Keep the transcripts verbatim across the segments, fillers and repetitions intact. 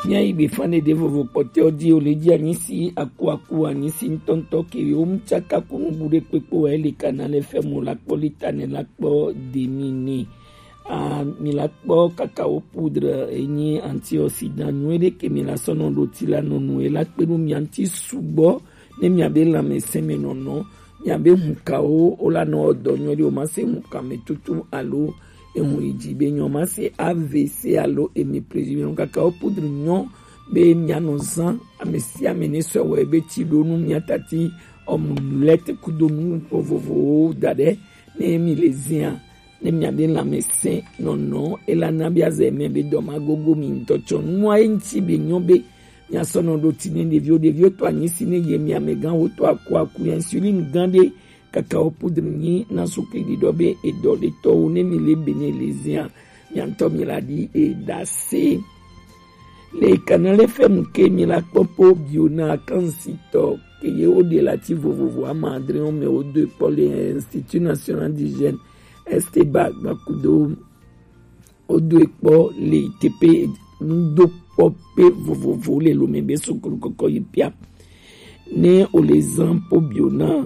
Míayi gbe fan ɖeɖe vovo kpɔtɔewo ji, wo le ji anyisi aku aku anyisi ŋutɔŋutɔ ke yewo mu tsaka ku nubu ɖe kpekpe wɛ le Canal F M la kpɔ lita ne la kpɔ demi ne. A mi la kpɔ kakao poudre enyi antioxydant nyuie ɖe ke mi la sɔ nɔ ɖo ti la nɔ nu e la kpe ɖo mi anti sugbɔ ne mi abe lãmesẽ me nɔnɔ, mi abe hukawo wo la nɔ dɔ nyuie ɖe o ma se huka me tutu alo ehun yi dzi be nyɔ ma se A V C alo hémiplégie me kakao poudre nyɔ be mianɔ zã ame sia ame ne sɔ wɔ ebe tsi ɖo nu miatati ɔmulɛt kudo nu vovovowo da ɖe ne mi le zia ne miabe lãmesẽ nɔnɔ elana be azɛ mɛ be dɔ ma gogo mi ŋutɔ tsɔ nua ye ŋuti be nyɔ be miasɔ nɔ ɖo ti ne ɖeviwo ɖeviwo to anyi si ne ye mi amegãwo to aku aku insulin gã ɖe kakao poudre nyi na sukli ɖiɖɔ be edɔ ɖetɔwo ne mi le be ne le zia miantɔ mi la ɖi eɖase. Le Canal F M ke mi la kpɔ po bio na akansitɔ ke ye wo ɖe la ti vovovo ama adre wo me wo do ekpɔ le Institut National d'Hygiène Esteba gbakudo wo do ekpɔ le teƒe nudokpɔƒe vovovo le lome be sukulu kɔkɔ yi pia ne o le zan po bio na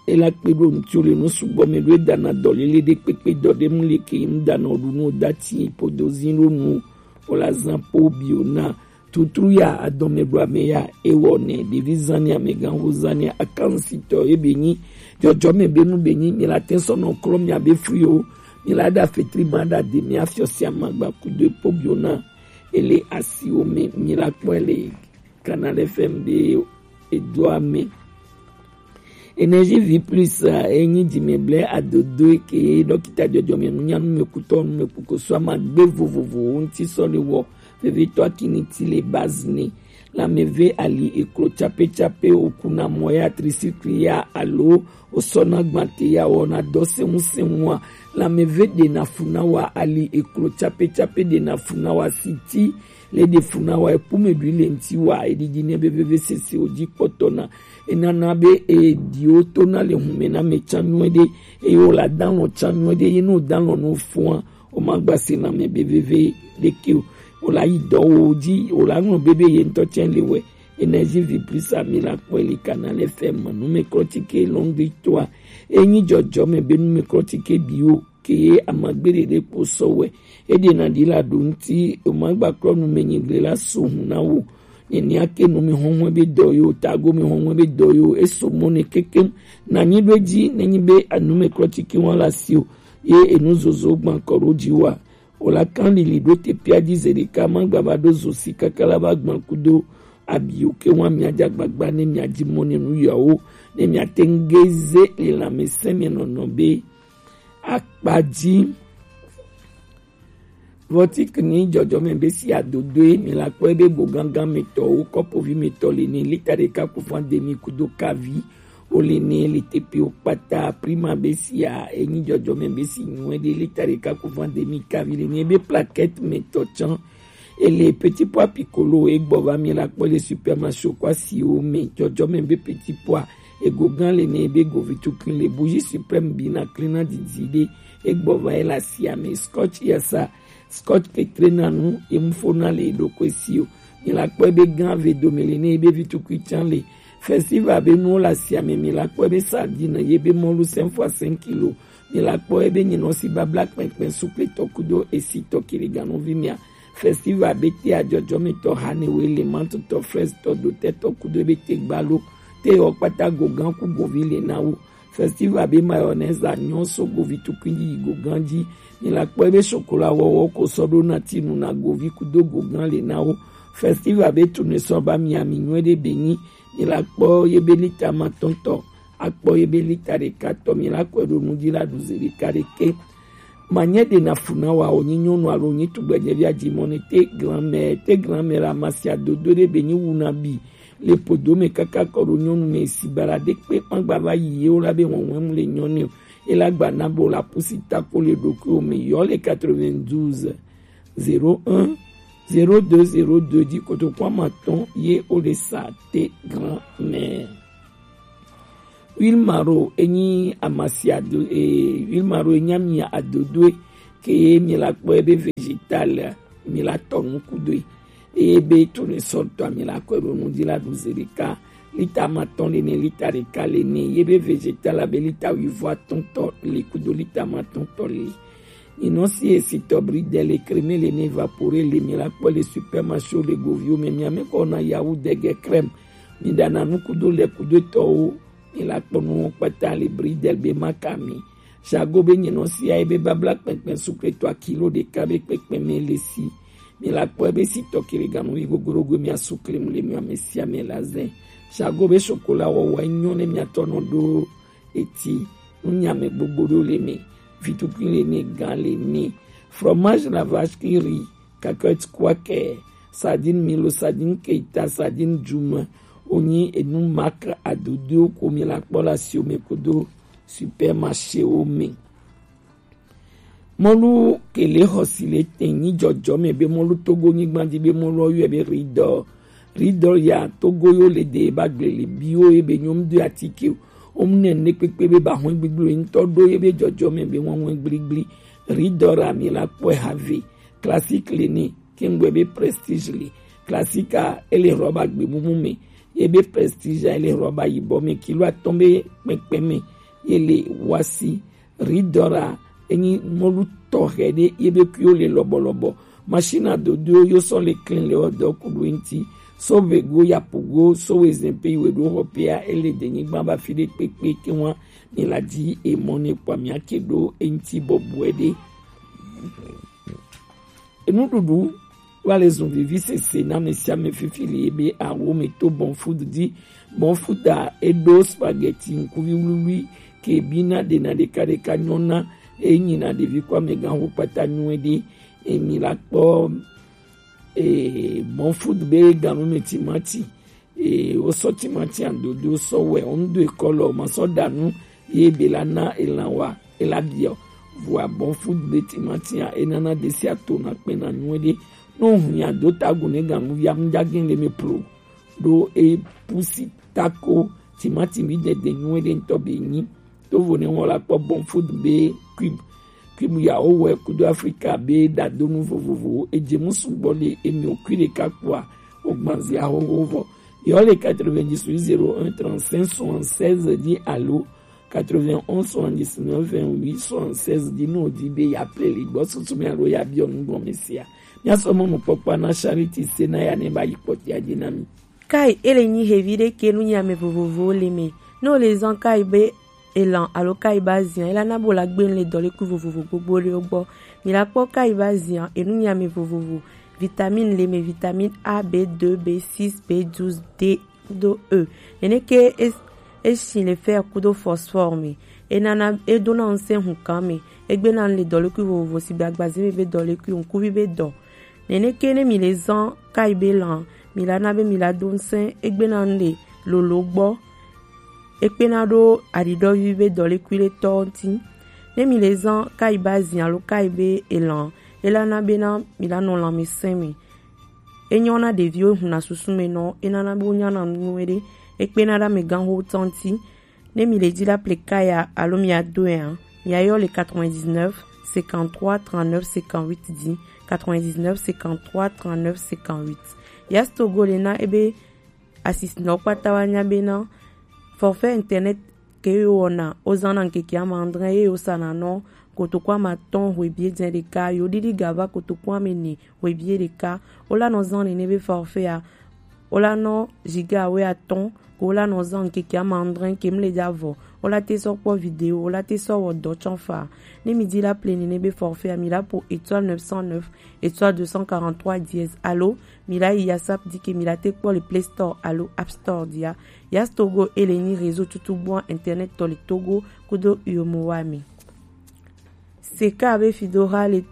ela kpe ɖo ŋuti o le nu sugbɔ me ɖo edana dɔ lele ɖe kpekpe dɔ ɖe mu le ke mu dana o ɖu nu o da ti podo zi ɖo nu o la zan po bio na tutru ya adɔme ɖo ame ya ewɔ ne ɖevi zani amegãxo zani akansitɔ ebe nyi jɔjɔme be nu be nyi mi la te sɔ nɔ klɔ mi abe fri o mi la ɖa fetri ma ɖa de mi afiɔ si amagba kudo epo bio na ele asiwo me mi la kpɔe le Canal F M be edoa me. Énergie Vie Plus enyi dzimɛgblẽ adodo ke dɔkita jɔjɔme nunyanu me kutɔ nume kukoso amagbe vovovowo ŋuti sɔ le wɔ vevitɔ akini ti le base ne lãmeve ali eklo tsapetsape okuna mɔ ya trisikli ya alo osɔna gbante ya wɔna dɔ sɛŋusɛŋua lãmeve ɖena fu na wa ali eklo tsapetsape ɖena fu na wa siti le ɖe fu na wa epume ɖui le ŋti wa eɖiɖi ne be veve sese o dzi kpɔtɔ na enana be eɖiwo to na le hume na me tsa nyuie ɖe eye wo la dalɔ tsa nyuie ɖe ye no dalɔ no fua o ma gba se na me be veve ɖeke o o la yi dɔ wo dzi o la ŋlɔ be be ye ŋutɔ tsɛ le wɛ Énergie Vie Plus ami la kpɔe le Canal F M numeklɔtike lɔngli toa enyi jɔjɔme be numeklɔtike biwo ke ye amagbe ɖeɖe kpo sɔ wɛ eɖena ɖi la ɖo ŋti o ma gba klɔ nume nyigble la so hun na wo nenia ke nu mi hɔnhɔn be dɔ yo tago mi hɔnhɔn be dɔ yo eso mɔ ne kekem na nyi ɖo edzi ne nyi be anumeklɔtike wa la si o ye enu zozo gban kɔ ɖo dzi wa o la kan lili ɖo te pia dzi ze ɖeka ma gba va ɖo zo si kaka la va gban kudo abi o ke wa mia dza gbagba ne mia dzi mɔ ne nu yawo ne mia te ŋu ge ze le lãmesẽ me nɔnɔ be akpa dzi. Vɔtik ni jɔjɔme be si adodoe mi la kpɔe be go gangan me tɔwo kɔpovi me tɔ le ni lita ɖeka ku fan demi kudo kavi o le ni le tepe o kpata prima be si a enyi jɔjɔme be si nyuie ɖe lita ɖeka ku fan demi kavi le ni ebe plaquette me tɔ tsã ele petit pois piccolo egbɔ va mi la kpɔ le supermarché kɔ asiwo me jɔjɔme be petit pois ego gan le ni ebe govi tukui le bougie suprême bi na klina didi ɖe egbɔ va ye le asia me scotch yasa scotch petre na nu emu fo na le eɖokui si o mi la kpɔ ebe gan ve dome le ni ebe vi tukui tsã le festival be nuwo le asia me mi la kpɔ ebe sardine ye be mɔlu cinq fois cinq kilo mi la kpɔ ebe nyinɔ si babla kpɛnkpɛn sukle tɔ kudo esi tɔ kiliganuvi mia festival be te ajɔjɔmetɔ hanewe le mantotɔ frɛstɔ dotɛtɔ kudo ebe te gbalo te yɔ kpata gogan ku govi le na wo festival be mayonnaise anyɔ so govi tukui yi gogan dzi mi la kpɔ ebe sokola wɔwɔ ko sɔ ɖo na tinu na govi kudo gogan le na wo festival be tune sɔ ba miami nyuie ɖe be nyi mi la kpɔ ye be lita ma tɔntɔ akpɔ ye be lita ɖeka tɔ mi la kɔe ɖo nu dzi la ɖu ze ɖeka ɖeke manyɛ ɖe na fu na wa o nyi nyɔnu alo nyi tugbɛnyɛvi adzi mɔ ne te grand-mère te grand-mère amasi adodo ɖe be nyi wu na bi le podo me kaka kɔ ɖo nyɔnu me si bara ɖe kpe ma gba va yi ye wo la be wɔwɔm le nyɔnu o e la gba na bo la pusi tako le ɖokuiwo me yɔ le quatre-vingt-douze zéro un zéro deux zéro deux dzi kotoku ama tɔn ye wo le sa te grand-mère. Wilmaro enyi amasi ado e wilmaro enyi ami adodoe ke ye mi la kpɔ ebe vegetal mi la tɔ nu kudoe Eye be tournesol tɔ, mi la kɔe ɖo nu ji la ɖu ze ɖeka, lita amatɔn le ne, lita ɖeka le ne. Ye be vegetal abe lita wuiatɔ̃ tɔ le kudo lita amatɔ̃ tɔ le. Nyinɔ si esitɔ bridel, crème le ne, évaporé le, mi la kpɔ le supermarché, le goviwo me, mi ame kɔ na yawu dege crème, mi ɖana nu kudo le kudo tɔwo, mi la kpɔ nu kpata le bridel be makami. Jago be nyinɔ si aye be babla kpɛnkpɛn sukletɔ kilo ɖeka be kpɛnkpɛn me le si. Mi la kpɔ ebe si tɔ kiri ganu yi gogorogo mi asu klem le mi ame sia ame la zɛ. Jago be chocolat wɔwɔ enyo ne mi atɔ nɔ ɖo eti. Nu nyame gbogbo ɖo le mi. Vitukui le mi, gan le mi. Fromage la vache qui rit, cacahuète quaker, sardine milo, sardine keita, sardine djuma. Onyi enu mak adodo ko mi la kpɔ la si o me kudo supermarché wo me. Mɔlu kele xɔsi le tɛn nyi jɔjɔme be mɔlu Togo nyigban di be mɔlu ɔyɔɛ be ridɔ. Ridɔ ya Togo yo le de ba gble le bi wo ye be nyɔm do atike o. Om ne ne kpekpe be ba hɔn gbigble ŋutɔ ɖo ye be jɔjɔme be wɔn wɔn gbligble. Ridɔ ra mi la kpɔe have. Classique le ne, kengbe be Prestige le. Classique a ele rɔba gbemumu me. Ye be Prestige a ele rɔba yibɔ me, kilo atɔn be kpɛnkpɛn me. Ye le wasi. Ridora enyi mɔlu tɔxɛ ɖe ye be kuiwo le lɔbɔlɔbɔ. Machine adodo yo sɔ le klin le ɔdɔ kuɖo eŋti. So vego ya pogo so we zɛn pe iwe ɖo xɔ pea ele de nyigban ba fi ɖe kpekpe ke wa mi la di emɔ ne kpɔ mi ake ɖo eŋti bɔbɔe ɖe. Enuɖuɖu va le zun vivi sese na ame sia ame fifi le ebe awo me to Bon Food di. Bon Food a eɖo spaghetti ŋkuvi wluwlui ke bina ɖena ɖekaɖeka nyɔna enyina ɖevi kɔ amegã ho kpata nyuie ɖe. Emi la kpɔ e, Bon Food be ganu me timati. E, wosɔ timati adodo sɔ wɛ, wo ŋdo ekɔ lɔ, ma sɔ ɖa nu ye be la na elan wa, ela biɔ. Vɔa Bon Food be timati a, enana ɖe sia to na kpɛna nyuie ɖe. No hunya do tago ne ganu via mu jage le me plo. Ɖo e pusi tako timati mi dede nyuie ɖe ŋutɔ be nyi. Tovo ne wɔn la kpɔ Bon Food be Cube. Cube ya wo wɛ kudo Afrika be ɖadonu vovovowo. Edze mu sugbɔ le emi o kui ɖeka kpɔa, o gbanzia xoxo vɔ. Yɔ le quatre-vingt-dix-huit zéro un trente-cinq soixante-seize di alo quatre-vingt-onze soixante-dix-neuf vingt-huit soixante-seize di no di be ya ple le gbɔ susu mi alo ya biɔ nu gɔme sia. Mia sɔ mɔnukpɔkpɔ na Charity se na ya ne ba yi kpɔtia di na mi. Kai ele nyi hevi ɖe ke nu nyi ame vovovowo le me. Ne o le zan kai be elan alo kai ba zian, ela na bo la gbe le dɔlekui vovovo gbogbo ɖewo gbɔ. Mi la kpɔ kai ba zian, enu nyi ame vovovo. Vitamine le me, vitamine A, B deux, B six, B douze, D kudo E. Nene ke es-, esi le fer kudo phosphore me. Enana, edona ŋusẽ hukan me. Egbena le dɔlekui vovovo si be agbaze me be dɔlekui, ŋkuvi be dɔ. Nene ke ne mi le zan kai be lan, mi la na be mi la do ŋusẽ egbena ŋɖe lolo gbɔ. Ekpena ɖo aɖiɖɔvi be dɔlekui le tɔ ŋuti. Ne mi le zan kai ba zin alo kai be elan, ela na bena mi la nɔ lanmesẽ me. Enyɔ na ɖeviwo huna susu me nɔ, enana be wo nyana nu nyuie ɖe. Ekpena ɖe amegãxo tɔ ŋuti. Ne mi le di la ple kaya alo mi ado ya, mi ayɔ le quatre-vingt-dix-neuf cinquante-trois trente-neuf cinquante-huit di, quatre-vingt-dix-neuf cinquante-trois trente-neuf cinquante-huit. Yas Togo le na ebe asisinɔ kpata wa nya bena forfait internet ke yo wɔna, o zana ŋkeke ama adre ye yo sana nɔ kotoku ama atɔ̃ hwebie dze ɖeka, yo ɖiɖi gava kotoku ame ene hwebie ɖeka. Wo la nɔ zan nene be forfait a, wo la nɔ giga we atɔ̃, ko wo la nɔ zan ŋkeke ama adre ke mle ja vɔ. Wo la te sɔ kpɔ vidéo, wo la te sɔ wɔ dɔ tsɔ fa. Ne mi di la ple nene be forfait a, mi la po étoile neuf cent neuf, étoile deux cent quarante-trois dièse, alo mi la yi yasap di ke mi la te kpɔ le Play Store alo App Store dia. Yas Togo ele nyi réseau tutu bua internet tɔ le Togo kudo yomo wa mi. Seka be fido ha le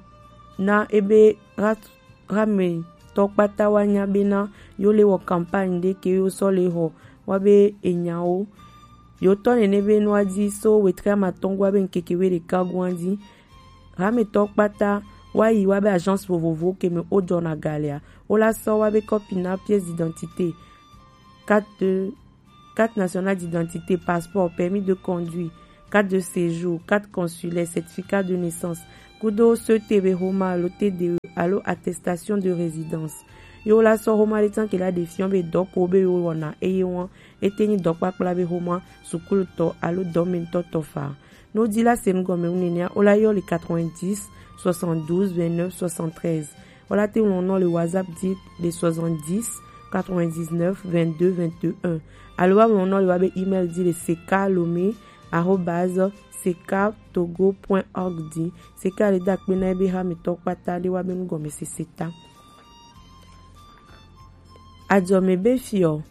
na ebe ha, ha me tɔ kpata wa nya bena yo le wɔ campagne ɖe ke yo sɔ le xɔ wa be enyawo. Yo tɔ nene be nua di so wetre ama atɔ̃ gua be ŋkeke we ɖeka gua di. Hametɔ kpata wa yi wa be agence vovovo ke me wo jɔna ga lea, wo la sɔ wa be kɔpi na pièce d'identité, carte de, carte nationale d'identité, passeport, permis de conduire, carte de séjour, carte consulaire, certificat de naissance, kudo C T B homa alo T D E alo attestation de résidence. Ye wo la sɔ xoma ɖe tsan ke la ɖe fiɔ be dɔ ko be wo wɔna eye wɔn ete nyi dɔkpakpla be xoma, sukulutɔ alo dɔmɛnutɔ tɔ fa. Ne wo di la se nu gɔme wu nenea, wo la yɔ le quatre-vingt-dix soixante-douze vingt-neuf soixante-treize. Wo la te ŋlɔ nɔ le WhatsApp di le soixante-dix quatre-vingt-dix-neuf vingt-deux vingt-et-un. Alo wa ŋlɔ nɔ le wa be email di le seka lomi arobase seka togo point org di. Seka le da kpe na ebe ha mi tɔ kpata ɖe wa be nu gɔme sese ta. Adzɔme be fiɔ,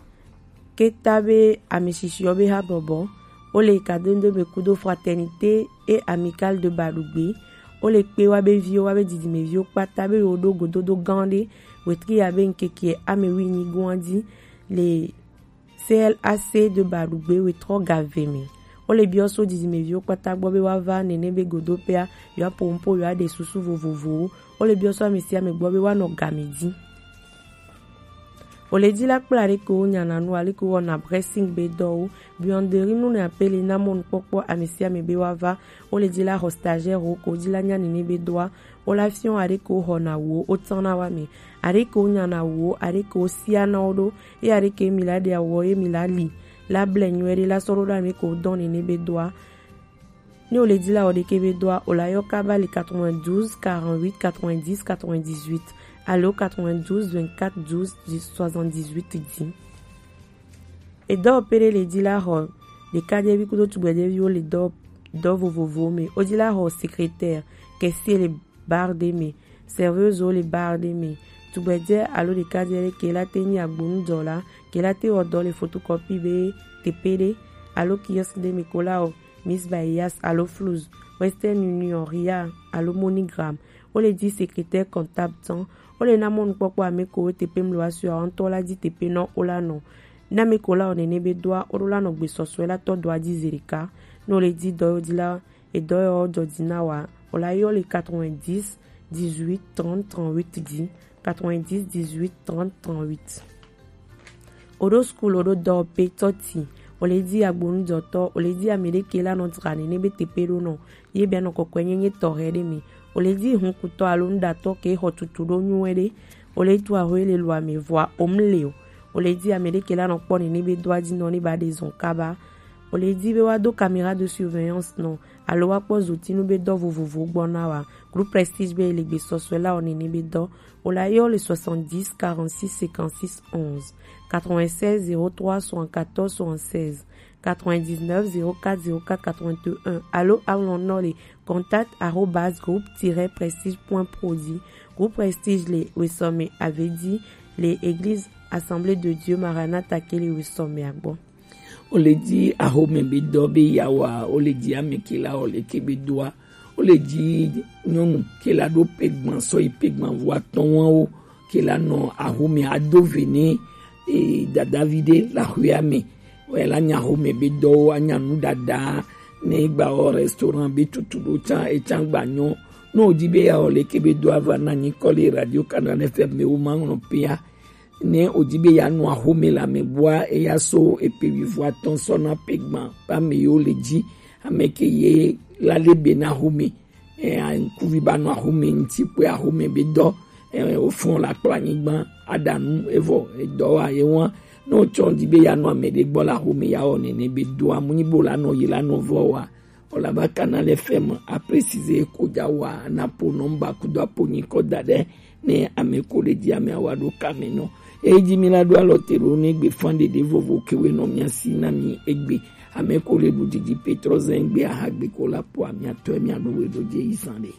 ke ta be ameshishiɔ be ha bɔbɔ, wo le Kadondo be kudo Fraternité et Amicale de Badugbe, wo le kpe wa be viwo, wa be didimeviwo kpata be wo ɖo gododo gã ɖe, wetri ya be ŋkeke ame wi nyi goa di le C L A C de Badugbe wetrɔ ga ve me. Wo le biɔ so didimeviwo kpata gbɔ be wa va nene be godo pea, yewoa po nupo, yewoa ɖe susu vovovowo. Wo le biɔ so ame sia ame gbɔ be wa nɔ game di. Wo le di la kpla ɖe ko wo nyana nu ale ko wɔna pressing be dɔwo. Buanderie nu ne apele na mɔnukpɔkpɔ ame sia ame be wa va. Wo le di la xɔ stagiaire wo ko di la nya nene be dɔa. Wo la fiɔ aɖe ko xɔna wo, wo tsana wa me. Aɖe ko nyana wo, aɖe ko sia na wo ɖo. Ye aɖe ke mi la ɖe awɔ ye mi la li la ble nyuie ɖe la sɔ ɖo ɖa mi ko dɔn nene be dɔa. Ne wo le di la wɔ ɖeke be dɔa, wo la yɔ kaba le quatre-vingt-douze quarante-huit quatre-vingt-dix quatre-vingt-dix-huit alo quatre-vingt-douze vingt-quatre douze soixante-dix-huit di. Edɔ pe ɖe le di la xɔ ɖekadzevi kudo tugbedzeviwo le dɔ dɔ vovovowo me. Wo di la xɔ secrétaire, caissier le bar ɖe me, serveuse le bar ɖe me, tugbedze alo ɖekadze ɖe ke la te nyi agbonudɔla, ke la te wɔ dɔ le photocopie be teƒe ɖe alo kiosque ɖe me ko la wɔ Miss Bayas alo Fluz, Western Union, Ria alo MoneyGram. Wo le di secrétaire comptable tɔn. Wo le na mɔnukpɔkpɔ ame ko wo teƒe mlo wa sua ŋutɔ la di teƒe nɔ wo la nɔ. Na ame ko la wɔ nene be dɔa, wo ɖo la nɔ gbesɔsɔe la tɔ dɔa di zi ɖeka. Ne wo le di dɔ yo di la, edɔ yɔ jɔ di na wa, wo la yɔ le quatre-vingt-dix dix-huit trente trente-huit di, quatre-vingt-dix dix-huit trente trente-huit. Wo ɖo school, wo ɖo dɔ pe tɔti, wo le di agbonudɔtɔ, wo le di ame ɖe ke la nɔ tra nene be teƒe ɖo nɔ, ye be nɔ kɔkɔe nyenye tɔxɛ ɖe me, wo le di hunkutɔ alo nuɖatɔ ke xɔ tutu ɖo nyuie ɖe, wo le tu ahoe le lua me vɔa wo mu le o, wo le di ame ɖe ke la nɔ kpɔ nene be dɔa di nɔ ne ba ɖe zɔn kaba. Wo le di be wa do caméra de surveillance nɔ alo wa kpɔ zotinu be dɔ vovovo gbɔ na wa. Groupe Prestige be le gbesɔsɔe la wɔ nene be dɔ. Wo la yɔ le soixante-dix quarante-six cinquante-six onze, quatre-vingt-seize zéro trois soixante-quatorze soixante-seize, quatre-vingt-dix-neuf zéro quatre zéro quatre quatre-vingt-un alo aŋlɔ nɔ le contact arobase groupe tiret prestige point pro di. Groupe Prestige le wesɔme avedi le Église Assemblée de Dieu Maranatha ke le wesɔme agbɔ. Wo le di axome be dɔ be ya wa, wo le di ame ke la wɔ leke be dɔa. Wo le di nyɔnu ke la ɖo pegban sɔ yi pegban vo atɔ̃ wa wo ke la nɔ axome ado ve ne e, dadavi ɖe le axoea me. Wɔ la nya axome be dɔwo, anya nu ɖaɖa, ne gba wɔ restaurant be tutu ɖo tsa etsa gba nyɔ. Ne wo di be ya wɔ leke be dɔa va na nyikɔ le Radio Canal F M me wo ma ŋlɔ pea. Ne wo di be ya nɔ axome le ame bua, eya so epe wivo atɔ̃ sɔ na pegban ba me yo le di. Ame ke ye la le be na axome. E, ŋkuvi ba nɔ axome ŋuti kpɔe axome be dɔ. E, wo fɔn la kpla anyigba aɖa nu evɔ edɔ wa ye wa. Ne wo tsɔ di be ya nɔ ame ɖe gbɔ le axome ya wɔ nene be dɔa mu nyi bo la nɔ yi la nɔ vɔ wa. Wo la ba Canal F M a préciser ko ja wa na po nɔmba kudo apo nyikɔ da ɖe ne ame ko le di ame awa ɖo kame nɔ. Eyi di mi la ɖo alɔ te ɖo ne gbe fan ɖeɖe vovo ke we nɔ mia si na mi egbe. Ame ko le ɖu didi Petrɔ zɛn gbe aha gbe ko la po amia tɔ mia ɖo we ɖo je yi zan ɖe.